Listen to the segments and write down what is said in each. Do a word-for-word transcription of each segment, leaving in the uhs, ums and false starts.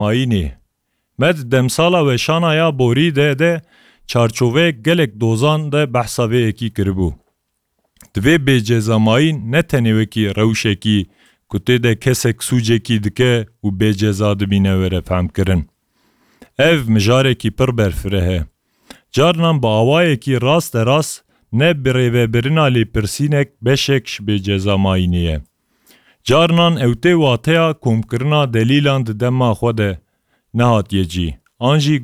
bêcezamayînê. Me di demsala weşana ya borî de de çarçoveyek gelek dozan de behsa vê yekî kiribû. Divê bêcezamayîn ne tenê wekî rewşekî ku tê de kesek sûcekî dike û bêceza dibîne were fehmkirin. Ev mijarekî pir berfireh e. Carnan bi awayekî rasterast ne birêvebirina lêpirsînek beşek ji bêcezamayînê ye. Carnan ew tê wateya komkirina delîlan di dema xwe de nehatiye cî, an jî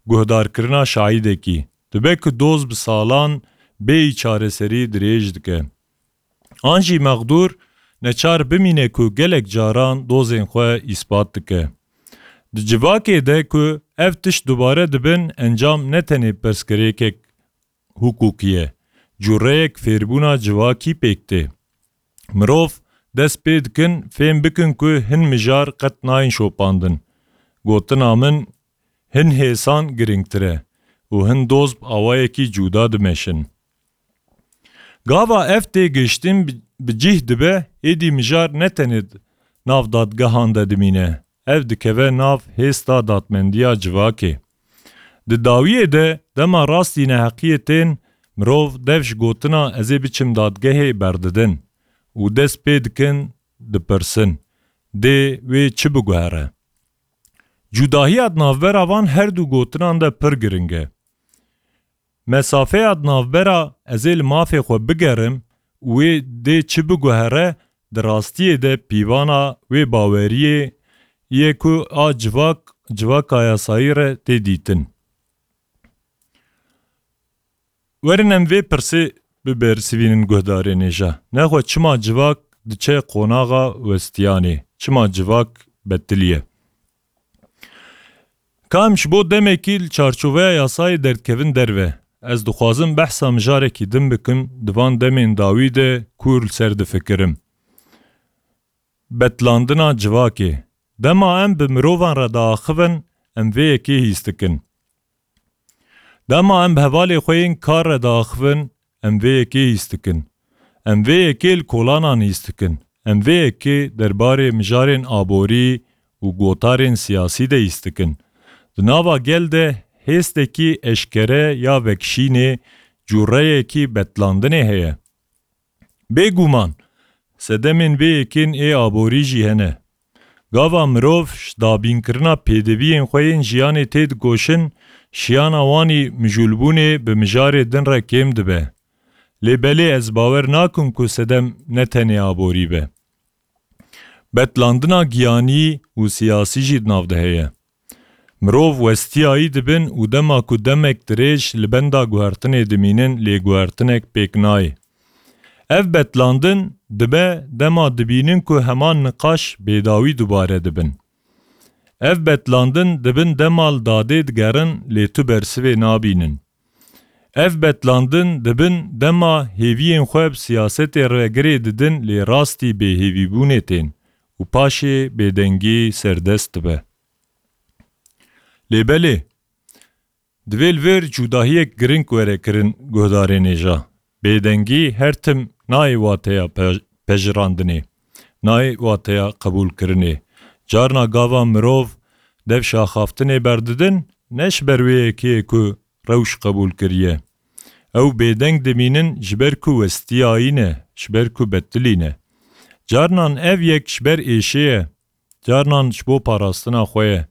guhdarkirina şahîdekî. Dibe ku doz bi salan bêyî çareserî dirêj dike. An jî mexdûr neçar bimîne ku gelek caran dozên xwe îspat dike. Di civakê de ku ev tişt dubare dibin, encam ne tenê pirsgirêkek hukukî ye, cureyek fêrbûna civakî pêk tê. Mirov dest pê dikin fêm bikin ku hin mijar qet nayên şopandin. Gotina min, hin hêsan girîngtir e û hin doz bi awayekî cuda dimeşin. Gava ev têgihiştin bi, bi cih dibe, êdî mijar ne tenê nav dadgehan de dimîne, ev dikeve nav hêsta dadmendiya civakê. Di dawiyê de dema rastî neheqiyê tên, mirov dev ji gotina "ez ê biçim dadgehê" berdidin û dest pê dikin dipirsin, "dê wê çi biguhere?" Cudahiya di navbera van her du gotinan de pir giring e. Mesafeya di navbera "ez ê li mafê xwe bigerim" û "wê dê çi biguhere" di rastiyê de pîvana wê baweriyê ye ku a civak, civaka yasayî re tê dîtin. Werin em vê pirsê bibersivînin guhdarên hêja. Nexwe çima civak diçe qonaxa westiyanê? Çima civak betilî ye? Ka em ji bo demekî li çarçoveya yasayê derdikevin derve, ez dixwazim behsa mijarekî din bikim, di van demên dawî de ku li ser difikirim. Betlandina civakê. Dema em bi mirovan re diaxivin, em vê yekê hîs dikin. Dema em bi hevalê xwe yên kar re diaxivin, em vê yekê hîs dikin. Em vê yekê li kolanan hîs dikin. Em vê yekê derbarê mijarên aborî û gotarên siyasî de hîs dikin. Di nava gel de hêstekî eşkere ya vekişînê, cûreyekî betlandinê heye. Bêguman, sedemên vê yekên ê aborî jî hene. Gava mirov ji dabînkirina pêdiviyên xwe yên jiyanê tê dikoşin, şiyana wanî mijûlbûnê bi mijarê din re kêm dibe. Lê belê ez bawer nakim ku sedem ne tenê aborî be. Betlandina giyanî û siyasî jî di nav de heye. Mirov westiyayî dibin û dema ku demek dirêj li benda guhertinê dimînin, lê guhertinek pêk nayê. Ev betlandin dibe dema dibînin ku heman niqaş bêdawî dubare dibin. Ev betlandin dibin dema li dadê digerin, lê tu bersivê nabînin. Ev betlandin dibin dema hêviyên xwe bi siyasetê re girê didin, lê rastî bêhêvîbûnê tên û paşê bêdengî serdest dibe. Lê belê, divê li vir cudahiyek giring were kirin guhdarên hêja. Bêdengî her tim nayê wateya pe-, pejirandinê, nayê wateya qebûlkirinê. Carna gava mirov dev şaxaftinê berdidin, ne ji ber wê yekê ku rewş qebûl kiriye. Ew bêdeng dimînin ji ber ku westiyayî ne, ji ber ku betilî ne. Carnan ev yek ji ber êşê ye, carnan ji bo parastina xwe ye.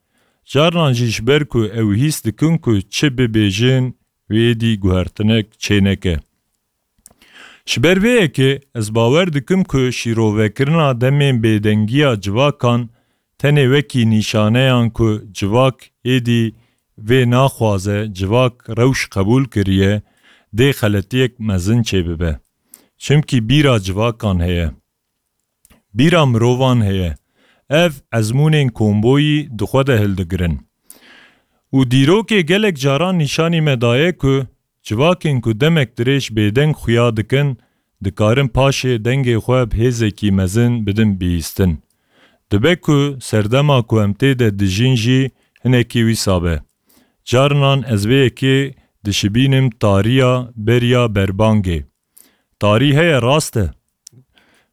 Carnan jî ji ber ku ew hîs dikin ku çi bibêjin, wê dî guhertinek çêneke. Ji ber vê yekê ez bawer dikim ku şîrovekirina demên bêdengiya civakan tenê wekî nîşaneyan ku civak êdî vê naxwaze, civak rewş qebûl kiriye, dê xeletiyek mezin çêbibe. Çimkî bîra civakan heye. Bîra mirovan heye. Ev ezmûnên komboyî di xwe de hildigirin. Û dîrokê gelek caran nîşanî me daye ku civakên ku demek dirêj bêdeng xuya dikin, dikarin paşê dengê xwe bi hêzekî mezin bidin bihîstin. Dibe ku serdema ku em tê de dijîn jî hinekî wîsa be. Carinan ez vê yekê dişibînim tariya beriya berbangê. Tarî heye, rast e.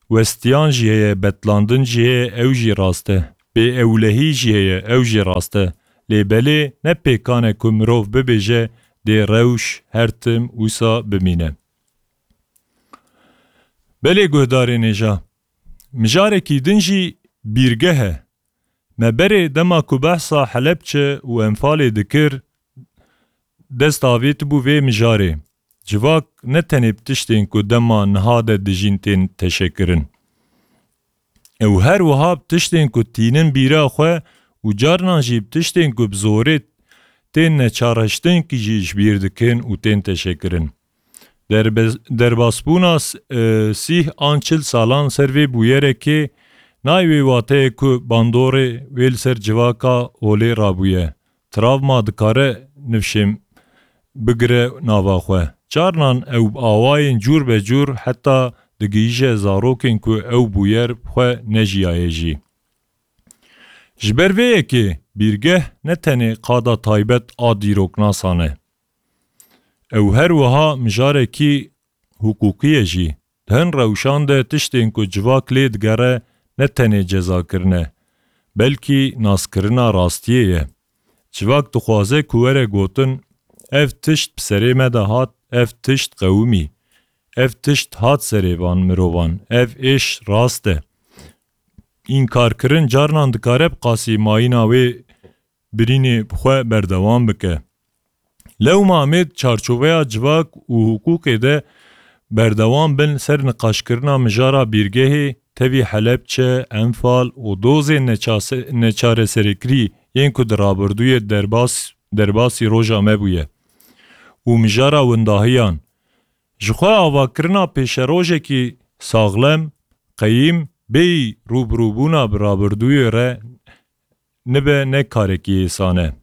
Westiyan jî heye, betlandin jî heye, ew jî rast e. bêewlehî jî heye, ew jî rast e. Lê belê ne pêkan e ku mirov bibêje dê rewş her tim wisa bimîne. Belê guhdarên hêja, mijarekî din jî bîrgeh e. Me berê dema ku behsa Helebçe û Enfalê dikir, dest avêtibû vê mijarê. Civak ne tenê bi tiştên ku dema niha de dijîn tên teşekirin. Ew her wiha bi tiştên ku tînin bîra xwe û carnan jî bi tiştên ku bi zorê tên neçarreştin jî ji bîr dikin û tên teşekirin. Derbe-, derbasbûna s-, e, sîh an çil salan ser vê bûyerekê nayê wê wateyê ku bandorê wê li ser civaka holê rabûye. Travma dikare nifşê bigire nava xwe. Carnan ew bi awayên cûr be cûr heta digihîje zarokên ku ew bûyer bi xwe nejiyaye jî. Ji ber vê yekê bîrgeh ne tenê qada taybet a dîroknasan e. Ew her wiha mijarekî hiqûqî ye jî. Di hin rewşan de tiştên ku civak lê digere ne tenê cezakirin e, belkî naskirina rastiyê ye. Civak dixwaze ku were gotin, ev tişt bi serê me de hat, ev tişt qewimî, ev tişt hat serê van mirovan, ev êş rast e. Înkarkirin carnan dikare bi qasî mayîna wê birînê bi xwe berdewam bike. Lewma em ê di çarçoveya civak û hiqûqê de berdewam bin ser niqaşkirina mijara bîrgehê tevî Helebçe, Enfal û dozên neçase-, neçareserkirî yên ku di rabirdûyê derbas-, derbasî roja me bûye û mijara windahiyan. Ji xwe avakirina pêşerojekî saxlem, qeyîm, bêyî rûbirûbûna bi rabirdûyê re nibe ne karekî êsan e.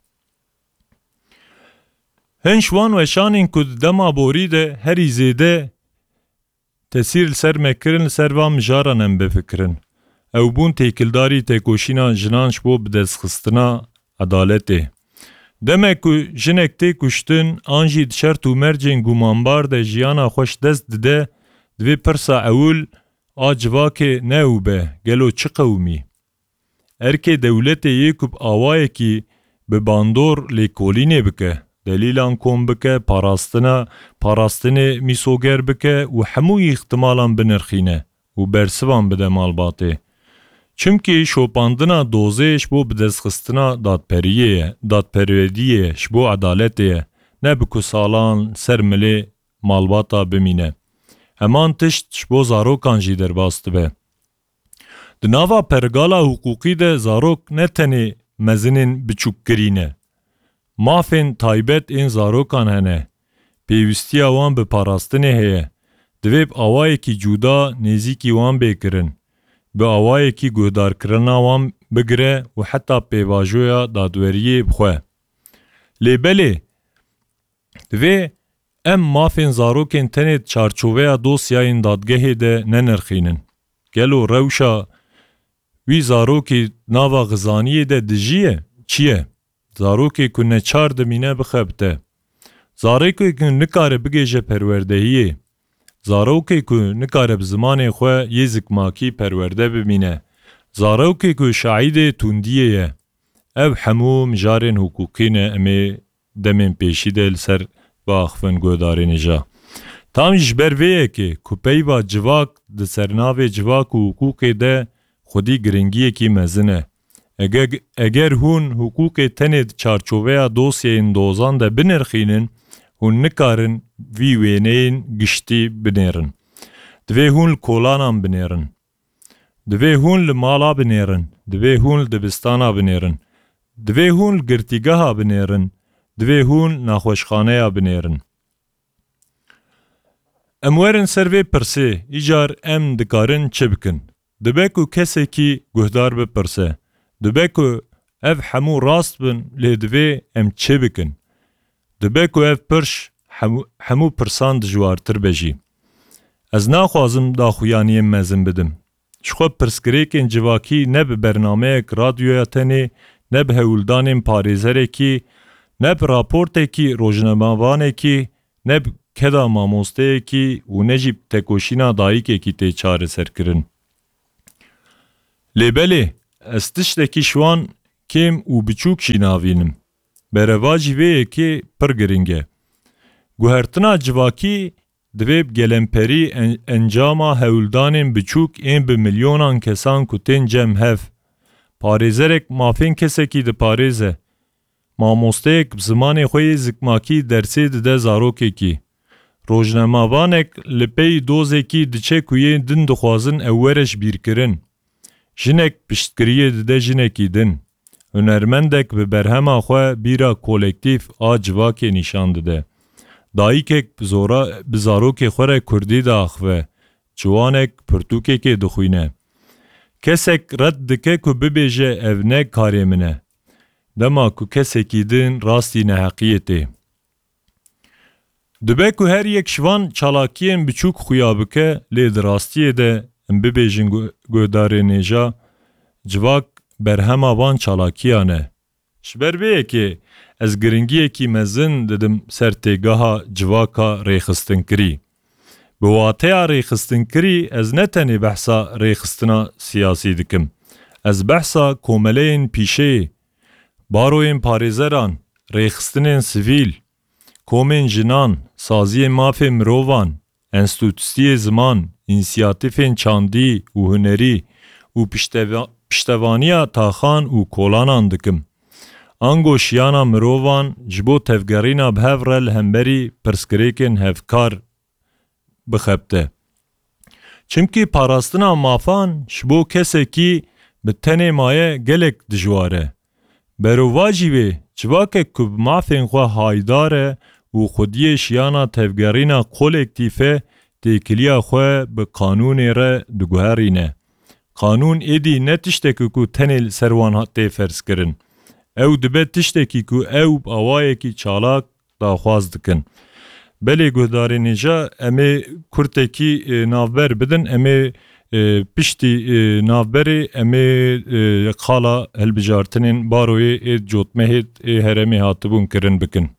Hin ji wan weşanên ku di dema borî de herî zêde tesîr li ser me kirin, li ser van mijaran em bifikirin. Ew bûn têkildarî têkoşîna jinan ji bo bidestxistina edaletê. Demek ku jinek tê kuştin an jî di şert û mercên gumanbar de jiyana xwe ji dest dide, divê pirsa ewil a civakê ne ew be, gelo çi qewimî? Erkê dewletê yê ku bi awayekî bi bandor lêkolînê bike, delîlan kom bike, parastina, parastinê mîsoger bike û hemû îxtimalan binirxîne û bersivan bide malbatê. Çimkî şopandina dozê ji bo bidestxistina dadperiyê ye, dadperweriyê ye, ji bo edaletê ye, ne bi ku salan ser milê malbata bimîne. Heman tişt ji bo zarokan jî derbas dibe. Di nava pergala hiqûqî de zarok ne tenê mezinên biçûkkirî ne. Mafên taybet ên zarokan hene. Pêwîstiya wan bi parastinê heye. Divê bi awayekî cuda nêzîkî wan bê kirin. Bi awayekî guhdarkirina wan bigire û heta pêvajoya dadweriyê bi xwe. Lê belê, divê em mafên zarokên tenê di çarçoveya dosyayên dadgehê de nenirxînin. Gelo rewşa wî zarokî nava xizaniyê de dijî ye? Çi ye? Zarokê ku neçar dimîne bixebite. Zarokê ku nikare bigêje perwerdehiyê. Zarokê ku nikare bi zimanê xwe yê zikmakî perwerde bimîne. Zarokê ku şahidê tundiyê ye. Ev hemû mijarên hiqûqî ne, em ê demên pêşî de li ser biaxivin guhdarên hêja. Tam jî ji ber vê yekê ku peyva civak di sernavê civak û hiqûqê de xwedî giringiyekî mezin e. Ege-, eger hûn hiqûqê tenê di çarçoveya dosyeyên dozan de binirxînin, hûn nikarin vî wêneyên giştî binêrin. Divê hûn li kolanan binêrin. Divê hûn li mala binêrin, divê hûn li dibistana binêrin, divê hûn li girtîgeha binêrin, divê hûn naxweşxaneya binêrin. Em werin ser vê pirsê, îcar em dikarin çi bikin? Dibe ku kesekî guhdar bipirse, dibe ku ev hemû rast bin, lê divê em çi bikin? Dibe ku ev pirş hemû, hemû pirsan dijwartir be jî. Ez naxwazim daxuyaniyên mezin bidim. Ji xwe pirsgirêkên civakî ne bi bernameyek radyoya tenê, ne bi hewldanên parêzerekî, ne bi raportekî rojnamevanekî, ne bi keda mamosteyekî û ne jî bi tekoşîna dayikekî tê çareserkirin. Lê belê, Ez tiştekî şiwan kêm û biçûk jî navînim. Berevajî vê yekê pir giring e. Guhertina civakî divê bi gelemperî en-, encama hewldanên biçûk ên bi milyonan kesan ku tên cem hev. Parêzerek mafên kesekî diparêze. Mamosteyek bi zimanê xwe yê zikmakî dersê dide zarokekî. Rojnamavanek li pey dozekî diçe ku yên din dixwazin ew were ji bîr kirin. Jinek piştgiriyê dide jinekî din. Hunermendek bi berhema xwe bîra kolektîf a civakê nîşan dide. Dayikek bi zora, bi zarokê xwe re kurdî diaxive. Ciwanek pirtûkekê dixwîne. Kesek red dike ku bibêje ev ne karê min e. Dema ku kesekî din rastî neheqiyê tê. Dibe ku her yek ji van çalakiyên biçûk xuya bike, lê di rastiyê de em bibêjin gu-, guhdarên hêja, civak berhema van çalakiyan e. Ji ber vê yekê ez giringiyekî mezin didim ser têgeha civaka rêxistinkirî. Bi wateya rêxistinkirî ez ne tenê behsa rêxistina siyasî dikim. Ez behsa komeleyên pîşeyê, baroyên parêzeran, rêxistinên sivîl, komên jinan, saziyên mafê mirovan, enstîtûyê ziman, însiyatîfên çandî û hunerî û pişteva-, piştevaniya taxan û kolanan dikim. Ango şiyana mirovan ji bo tevgerîna bi hev re li hemberî pirsgirêkên hevkar bixebite. Çimkî parastina mafan ji bo kesekî bi tenê maye gelek dijwar e. Berovajî wê, civakek ku bi mafên xwe haydar e û xwediyê şiyana tevgerîna kolektîf e, têkiliya xwe bi qanûnê re diguherîne. Qanûn êdî ne tiştek e ku tenê li ser wan ha-, tê ferzkirin. Ew dibe tiştekî ku ew bi awayekî çalak daxwaz dikin. Belê guhdarên hêja, em ê kurtekî, e, navber bidin, em ê, e, piştî, e, navberê em ê, e, qala hilbijartinên baroyê ê cotmehê ê herêmê hatibûn kirin bikin.